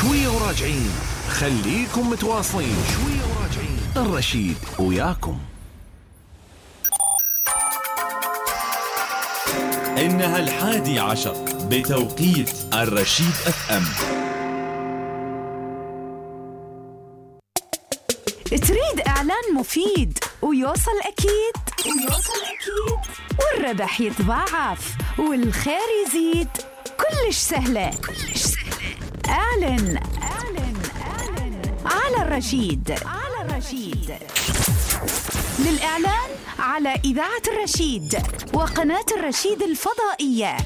شوية وراجعين، خليكم متواصلين. شوية وراجعين، الرشيد وياكم. إنها 11 بتوقيت الرشيد FM. تريد إعلان مفيد ويوصل أكيد والربح يتضاعف والخير يزيد، كلش سهلة. اعلن على الرشيد. للإعلان على إذاعة الرشيد وقناة الرشيد الفضائية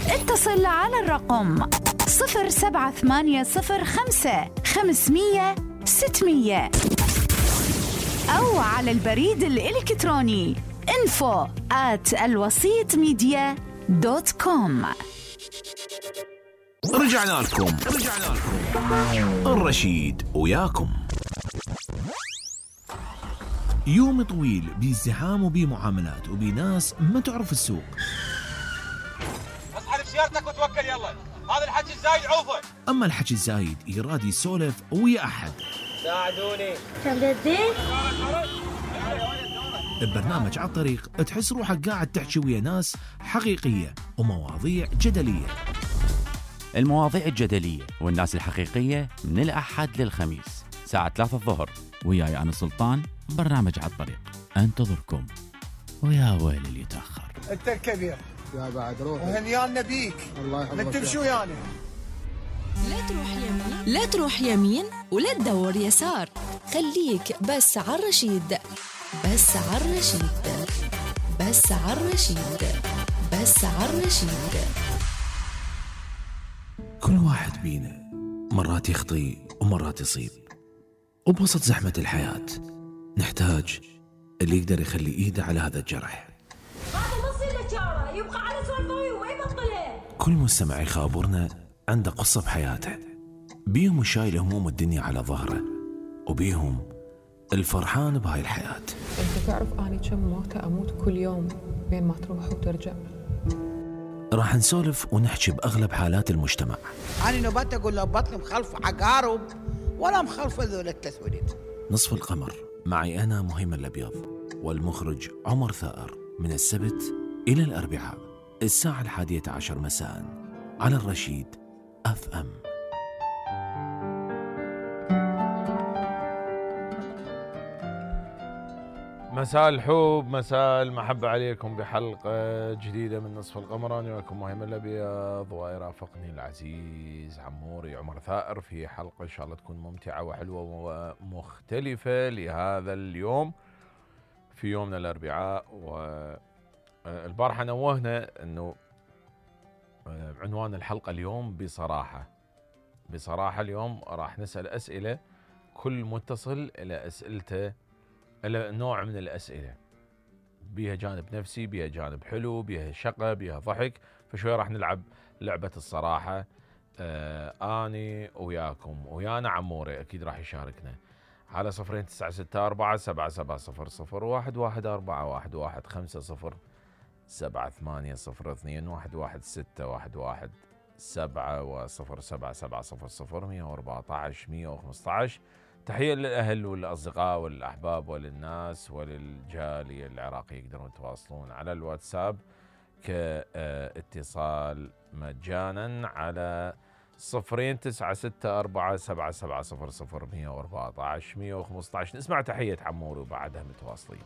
اتصل على الرقم 07805 500 600 أو على البريد الإلكتروني info@alwasitmedia.com. رجعنا لكم. الرشيد وياكم. يوم طويل بازدحام وبمعاملات وبناس ما تعرف السوق. اصحى بسيارتك وتوكل يلا، هذا الحكي الزايد عوفه. اما الحكي الزايد يراد يسولف ويا احد. ساعدوني. تبدين؟ ببرنامج على الطريق تحس روحك قاعد تحكي ويا ناس حقيقية ومواضيع جدلية. المواضيع الجدلية والناس الحقيقية من الأحد للخميس ساعة 3 الظهر، وياي أنا سلطان. برنامج على الطريق انتظركم، ويا ويل اللي يتأخر. انت الكبير يا بعد روح وهنيانا بيك. الله يحفظك. من تمشي ويانا. لا تروح يمين ولا تدور يسار، خليك بس على الرشيد. كل واحد بينا مرات يخطي ومرات يصيب، وبوسط زحمة الحياة نحتاج اللي يقدر يخلي إيده على هذا الجرح. هذا نص النجارة يبقى على سوالفه ويبطله. كل مستمع يخابرنا عنده قصة بحياته، بيهم شايل هموم الدنيا على ظهره، وبيهم الفرحان بهاي الحياة. انت تعرف اني كم موتة اموت كل يوم بين ما تروح وترجع. راح نسولف ونحكي بأغلب حالات المجتمع. أنا نبات أقول له بطني مخلف عقارب ولا مخلف ذول التسويد. نصف القمر معي أنا مهيمن الأبيض، والمخرج عمر ثائر، من السبت إلى الأربعاء الساعة 11 مساء على الرشيد FM. مساء الحب، مساء المحبة عليكم بحلقة جديدة من نصف القمر. أنا وياكم مهيمن الأبيض، ويرافقني العزيز عموري عمر ثائر في حلقة إن شاء الله تكون ممتعة وحلوة ومختلفة لهذا اليوم، في يومنا الأربعاء. والبارحة نوهنا أنه عنوان الحلقة اليوم بصراحة اليوم راح نسأل أسئلة، كل متصل إلى أسئلته إلى نوع من الأسئلة، بيها جانب نفسي، بيها جانب حلو، بيها شقة، بيها ضحك. فشوية راح نلعب لعبة الصراحة. أني وياكم، ويانا عموري أكيد راح يشاركنا على 02947751111 تحية للأهل والأصدقاء والأحباب وللناس وللجالية العراقية. يقدرون يتواصلون على الواتساب كاتصال مجانا على 029647700111115. نسمع تحية عموري وبعدها متواصلين.